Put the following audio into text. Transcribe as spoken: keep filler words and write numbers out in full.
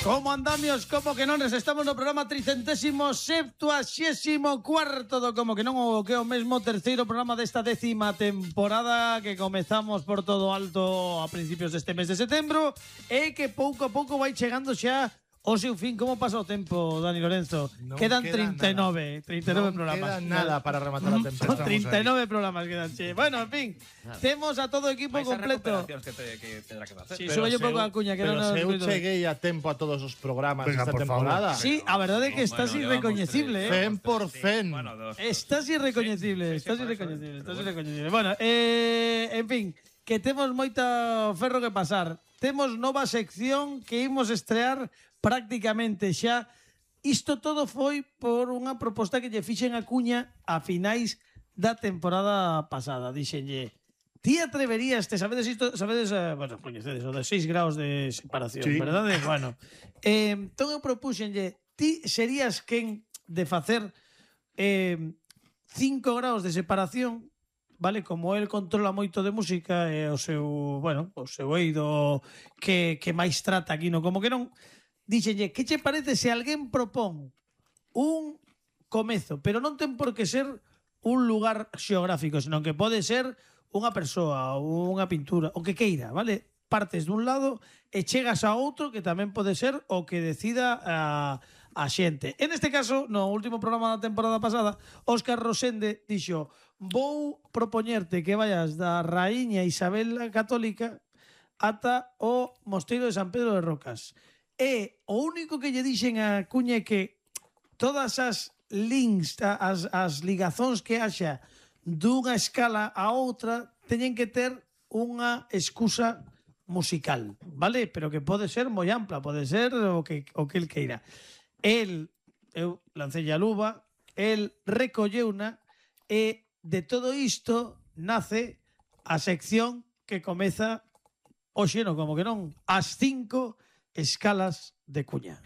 Como andamios, como que non, estamos no programa tricentésimo septuaxésimo cuarto do Como que non, o que é o mesmo terceiro programa desta décima temporada que comezamos por todo alto a principios deste mes de setembro e que pouco a pouco vai chegando xa o seu fin. Como pasa o tempo, Dani Lorenzo? Non quedan queda treinta e nove, nada. treinta e nove non programas. queda nada para rematar a temporada. treinta e nove programas quedan, che. Bueno, en fin, Nada. temos a todo o equipo Vais a completo. recuperacións que, te, que tendrá que facer. Sí, Pero sube un se pouco eu- a cuña que pero non nos se eu ruido. cheguei a tempo a todos os programas Venga, desta por favor. temporada. Sí, a verdade é que estás Bueno, irrecoñecible, llevamos eh. cen por cen. Bueno, dos. Estás irrecoñecible, Sí, sí, estás por eso, irrecoñecible, pero estás bueno. irrecoñecible. Bueno, eh, en fin, que temos moita ferro que pasar. Temos nova sección que imos estrear prácticamente xa. Isto todo foi por unha proposta que lle fixen a Cuña a finais da temporada pasada. Dixenlle, ti atreverías, te sabedes isto, sabedes, eh, bueno, coñecedes o de seis graus de separación, Sí. verdade? Bueno, eh, entón eu propuxenlle, ti serías quen de facer eh, cinco graus de separación, vale? Como el controla moito de música e o seu, bueno, o seu eido que, que máis trata aquí, no como que non, dixenlle, que che parece se alguén propón un comezo, pero non ten por que ser un lugar xeográfico, senón que pode ser unha persoa, unha pintura, o que queira, vale? Partes dun lado e chegas a outro que tamén pode ser o que decida a, a xente. En este caso, no último programa da temporada pasada, Óscar Rosende dixo, vou propoñerte que vayas da Raíña Isabel a Católica ata o Mosteiro de San Pedro de Rocas. E o único que lle dixen a Cuña é que todas as links, as, as ligazóns que haxa dunha escala a outra teñen que ter unha excusa musical, vale? Pero que pode ser moi ampla, pode ser o que, o que el queira. El, eu lancei a luva, el recolleuna e de todo isto nace a sección que comeza hoxe, no como que non, as cinco escalas de Cuña.